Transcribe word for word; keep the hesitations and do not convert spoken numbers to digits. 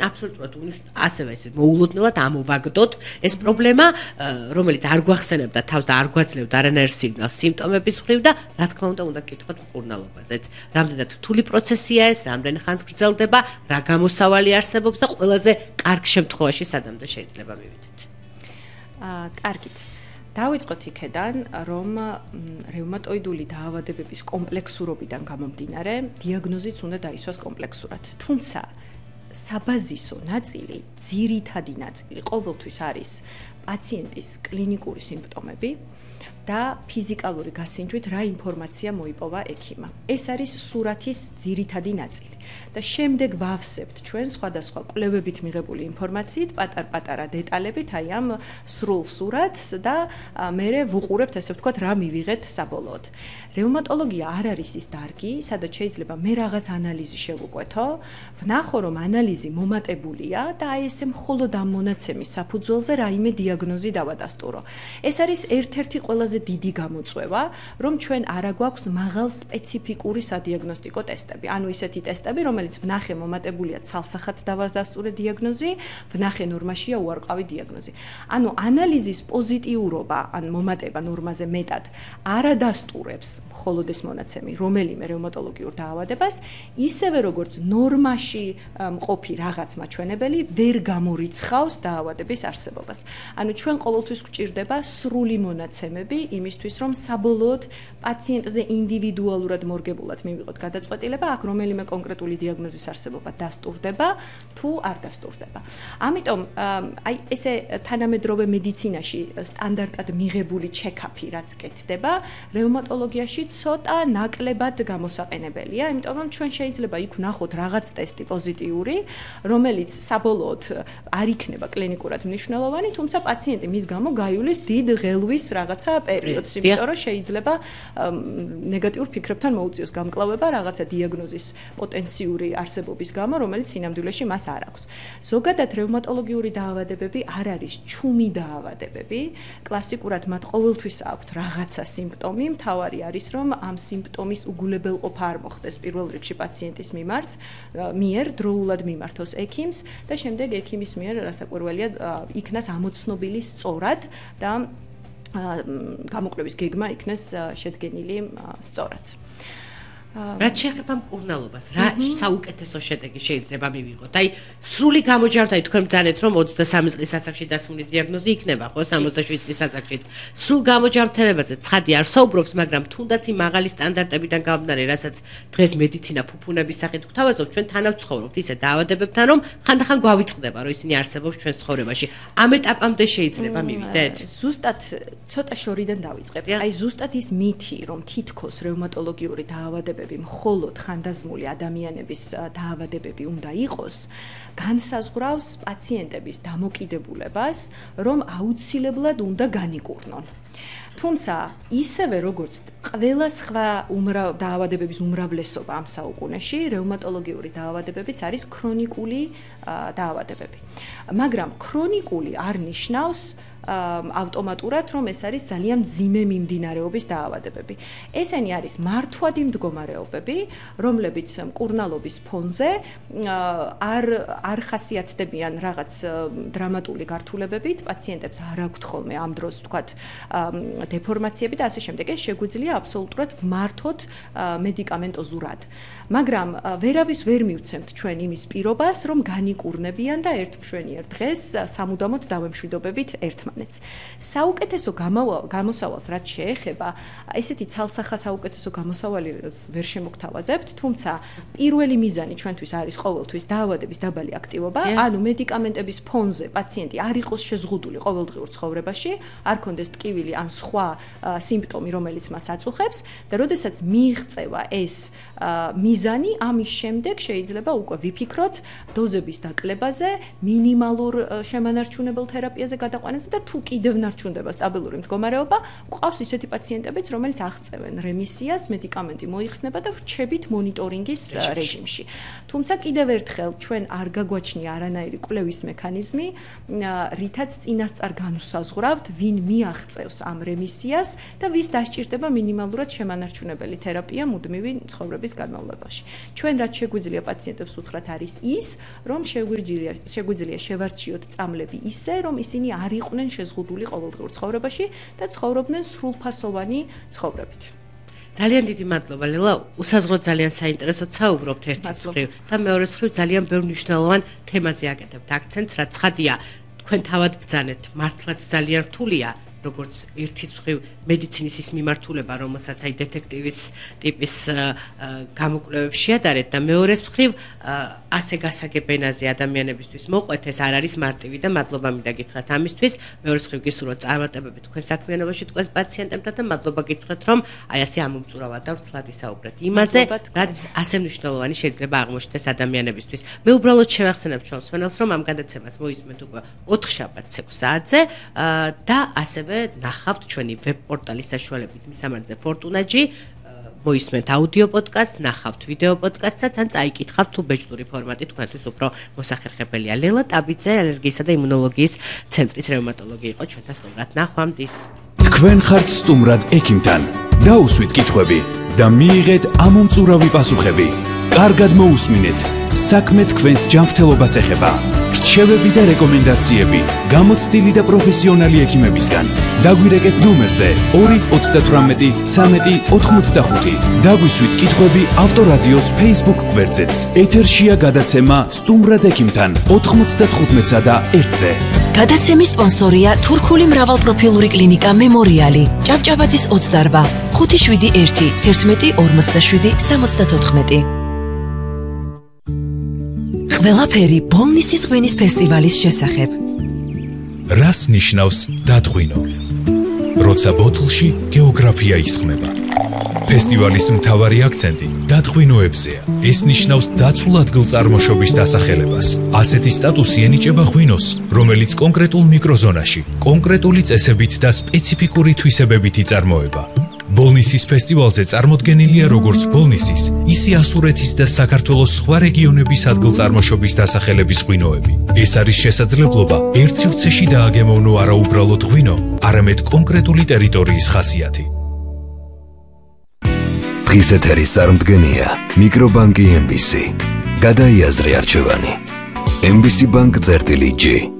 აბსოლუტურად ასევე ეს მოულოდნელად ამოვაგდოთ ეს პრობლემა, რომელიც არ გვახსენებდა თავს და არ გვაძლევდა არანაირ სიგნალს სიმპტომების მხრივ და რა თქმა უნდა უნდა გკითხოთ მკურნალობაზეც. რამდენად რთული პროცესია ეს, რამდენ ხანს გრძელდება, რა გამოსავალი არსებობს და ყველაზე კარგ შემთხვევაში სადამდე შეიძლება მივიდეთ. აა, კარგით. დავიწყოთ იქედან, რომ რევმატოიდული დაავადებების კომპლექსურობიდან გამომდინარე, დიაგნოზიც უნდა დაისვას კომპლექსურად. თუმცა საბაზისო ნაწილი, ძირითადი ნაწილი ყოველთვის არის პაციენტის კლინიკური სიმპტომები და ფიზიკალური გასინჯვით რა ინფორმაცია მოიპოვა ექიმმა. ეს არის სურათის ძირითადი ნაწილი. და შემდეგ ვავსებთ ჩვენ სხვადასხვა კვლევებით მიღებული ინფორმაციით, პატარ-პატარა დეტალებით, აი ამ სრულ სურათს და მერე ვუყურებთ, ესე ვთქვათ, რა მივიღეთ საბოლოოდ. რევმატოლოგია არ არის ის დარგი, სადაც შეიძლება მე რაღაც ანალიზი შევუკვეთო, ვნახო, რომ ანალიზი მომატებულია და აი ესე მხოლოდ ამ მონაცემის საფუძველზე რაიმე დიაგნოზი დავადასტურო. ეს არის ერთ-ერთი ყველაზე დიდი გამოწვევა, რომ ჩვენ არა გვაქვს მაღალ სპეციფიკური სადიაგნოსტიკო ტესტები. ანუ ისეთი ტესტები, რომელიც ვნახე მომატებულია ცალსახად დავადასტურე დიაგნოზი, ვნახე ნორმაშია უარყავი დიაგნოზი. ანუ ანალიზის პოზიტიურობა, ან მომატება ნორმაზე მეტად არ ადასტურებს მხოლოდ ეს მონაცემი რომელიმე რევმატოლოგიურ დაავადებას, ისევე როგორც ნორმაში მყოფი რაღაც მაჩვენებელი ვერ გამორიცხავს დაავადების არსებობას. ანუ ჩვენ ყოველთვის გვჭირდება სრული მონაცემები იმისთვის, რომ საბოლოოდ პაციენტზე ინდივიდუალურად მორგებულად მივიღოთ გადაწყვეტილება, აქ რომელიმე კონკრეტული დიაგნოზის არსებობა დასტურდება თუ არ დასტურდება. ამიტომ აი ესე თანამედროვე მედიცინაში სტანდარტად მიღებული ჩეკაპი რაც კეთდება, რევმატოლოგიაში ცოტა ნაკლებად გამოსაყენებელია, იმიტომ რომ ჩვენ შეიძლება იქ ვნახოთ რაღაც ტესტი პოზიტიური, რომელიც საბოლოოდ არ იქნება კლინიკურად მნიშვნელოვანი, თუმცა პაციენტი მის გამო გაივლის დიდ ღელვის რაღაცა პერიოდს, იმიტომ რომ შეიძლება ნეგატიურ ფიქრებთან მოუწიოს გამკლავება რაღაცა დიაგნოზის პოტენციური არსებობის გამო, რომელიც სინამდვილეში მას არ აქვს. ზოგადად რევმატოლოგიური დაავადებები არ არის ჩუმი დაავადებები, კლასიკურად მათ ყოველთვის აქვთ რაღაცა სიმპტომი, მთავარი არის რომ ამ სიმპტომის უგულებელყოფა არ მოხდეს პირველ რიგში პაციენტის მიმართ, მიერ დროულად მიმართოს ექიმს და შემდეგ ექიმის მიერ რასაკვირველია იქნას ამოცნობილი სწორად და გამოკვლევის გეგმა იქნეს შედგენილი სწორად. რაც შეეხება მკურნალობას, რა საუკეთესო შედეგი შეიძლება მივიღოთ? აი, სრული გამოჯანმრთელი თქვენ ბრძანეთ, რომ ოცდასამი წლის ასაკში დასმული დიაგნოზი იქნება, ხო, სამოცდაშვიდი წლის ასაკშიც. სრულ გამოჯანმრთელებაზე ცხადი არ საუბრობთ, მაგრამ თუნდაც იმ მაღალი სტანდარტებიდან გამომდინარე, რასაც დღეს მედიცინა ფუფუნების სახით გვთავაზობთ, ჩვენ თანავ ცხოვრობთ ისე დაავადებებთან, რომ ხანდახან გვავიწყდება, რომ ისინი არსებობს ჩვენს ცხოვრებაში. ამ ეტაპამდე შეიძლება მივიდეთ? ზუსტად ცოტა შორიდან დავიწყებ. აი, ზუსტად ის მითი, რომ თითქოს რევმატოლოგიური დაავადებები მხოლოდ ხანდაზმული ადამიანების დაავადებები უნდა იყოს, განსაზღვრავს პაციენტების დამოკიდებულებას, რომ აუცილებლად უნდა განიკურნონ. თუმცა ისევე როგორც ყველა სხვა დაავადებების უმრავლესობა ამ საუკუნეში, რევმატოლოგიური დაავადებებიც არის ქრონიკული დაავადებები. მაგრამ ქრონიკული არ ნიშნავს ავტომატურად, რომ ეს არის ძალიან მძიმე მიმდინარეობის დაავადებები. ესენი არის მართვადი მდგომარეობები, რომლებიც მკურნალობის ფონზე არ არ ხასიათდებიან რაღაც დრამატული გართულებებით, პაციენტებს არ აქვთ ხოლმე ამ დროს ვთქვათ დეფორმაციები და ასე შემდეგ. ეს შეგვიძლია აბსოლუტურად ვმართოთ მედიკამენტოზურად. მაგრამ ვერავის ვერ მივცემთ ჩვენ იმის პირობას, რომ განიკურნებიან და ერთ მშვენიერ დღეს სამუდამოდ დავემშვიდობებით ერთმანეთს. საუკეთესო გამოსავალს რაც შეეხება, ესეთი ცალსახა საუკეთესო გამოსავალს ვერ შემოგთავაზებთ, თუმცა პირველი მიზანი ჩვენთვის არის ყოველთვის დაავადების დაბალი აქტივობა, ანუ მედიკამენტების ფონზე პაციენტი არ იყოს შეზღუდული ყოველდღიურ ცხოვრებაში, არ ქონდეს ტკივილი ან სხვა სიმპტომი, რომელიც მას აწუხებს და როდესაც მიიღწევა ეს მიზანი, ამის შემდეგ შეიძლება უკვე ვიფიქროთ დოზების დაკლებაზე, მინიმალურ შემანარჩუნებელ თერაპიაზე გადაყვანაზე და თუ კიდევ ნარჩუნდება სტაბილური მდგომარეობა, გვყავს ისეთი პაციენტებიც, რომელიც აღწევენ რემისიას, მედიკამენტი მოიხსნება და ვრჩებით მონიტორინგის რეჟიმში. თუმცა კიდევ ერთხელ ჩვენ არ გაგვაჩნია არანაირი კვლევის მექანიზმი, რითაც წინასწარ განვსაზღვრავთ, ვინ მიაღწევს ამ რემისიას რემისიას და ვის დასჭირდება მინიმალურად შემანარჩუნებელი თერაპია მუდმივი ცხოვრების განმავლობაში. ჩვენ რაც შეგვიძლია პაციენტებს უთხრათ არის ის, რომ შეგვიძლია შეგვიძლია შევარჩიოთ წამლები ისე, რომ ისინი არ იყვნენ შეზღუდული ყოველდღიურ ცხოვრებაში და ცხოვრობდნენ სრულფასოვანი ცხოვრებით. ძალიან დიდი მადლობა ლელა, უსაზღროდ ძალიან საინტერესოდ საუბრობთ ერთის მხრივ და მეორეს მხრივ ძალიან ბევრ მნიშვნელოვან თემაზე აკეთებთ აქცენტს, რაც ცხადია, თქვენ თავად ბრძანეთ, მართლაც ძალიან რთულია, როგორც ერთის მხრივ მედიცინის ის მიმართულება, რომელსაც აი დეტექტივის ტიპის გამოკვლევებს შეადარეთ და მეორეს მხრივ ასე გასაგებენაზე ადამიანებისთვის მოყვეთ, ეს არ არის მარტივი და მადლობა მინდა გითხრათ ამისთვის. მეორეს მხრივ გისურვოთ წარმატებები თქვენ საქმიანობაში თქვენს პაციენტებთან და მადლობა გითხრათ, რომ აი ასე ამომწურავად და ვრცლად ისაუბრეთ იმაზე, რაც ასე მნიშვნელოვანი შეიძლება აღმოჩნდეს ადამიანებისთვის. მე უბრალოდ შევახსენებ ჩვენს მსმენელს, რომ ამ გადაცემას მოისმენთ უკვე ოთხშაბათს ექვს საათზე და ასევე ნახავთ ჩვენი ვებ-პორტალის საშუალებით მისამართზე Fortuna-ში, მოისმენთ აუდიო პოდკასტს, ნახავთ ვიდეო პოდკასტსაც, ან წაიკითხავთ თუ ბეჭდური ფორმატი თქვენთვის უფრო მოსახერხებელია. ლელა ტაბიძე, ალერგიისა და იმუნოლოგიის ცენტრის რევმატოლოგი იყო ჩვენთან სტუმრად. ნახვამდის. თქვენ ხართ სტუმრად ექიმთან. დაუსვით კითხვები და მიიღეთ ამომწურავი პასუხები. კარგად მოусმინეთ. საქმე თქვენს ჯანმრთელობას ეხება. რჩევები და რეკომენდაციები გამოცდილი და პროფესიონალი ექიმებისგან. დაგვირეკეთ ნომერზე ორი ოცდათვრამეტი ცამეტი ოთხმოცდახუთი. დაგვისვით კითხვები ავტორადიოს Facebook გვერდზეც. ეთერშია გადაცემა სტუმრად ექიმთან ოთხმოცდათხუთმეტსა და ერთზე. გადაცემის სპონსორია თურქული მრავალპროფილური კლინიკა მემორიალი, ჭავჭავაძის ოცდაორბა, ხუთი შვიდი ერთი, თერთმეტი ორმოცდაშვიდი სამოცდათოთხმეტი. ყველაფერი ბოლნისის ღვინის ფესტივალის შესახებ. რას ნიშნავს დადღვინო? როცა ბოთლში გეოგრაფია ისხმება. ფესტივალის მთავარი აქცენტი დადღვინოებზეა. ეს ნიშნავს დაცულ ადგილწარმოშობის დასახელებას. ასეთი სტატუსი ენიჭება ღვინოს, რომელიც კონკრეტულ მიკროზონაში, კონკრეტული წესებით და სპეციფიკური თვისებებით იწარმოება. ბოლნისის ფესტივალზე წარმოდგენილია როგორც ბოლნისის, ისე ასურეთის და საქართველოს სხვა რეგიონების ადგილწარმოშობის დასახელების ღვინოები. ეს არის შესაძლებლობა ერთ სივრცეში დააგემოვნო არა უბრალოდ ღვინო, არამედ კონკრეტული ტერიტორიის ხასიათი. დღის ეთერის წარმდგენია მიკრობანკი ემ ბი სი. გადაიაზრე არჩევანი. ემ ბი სი ბანკ წერტილი ჯი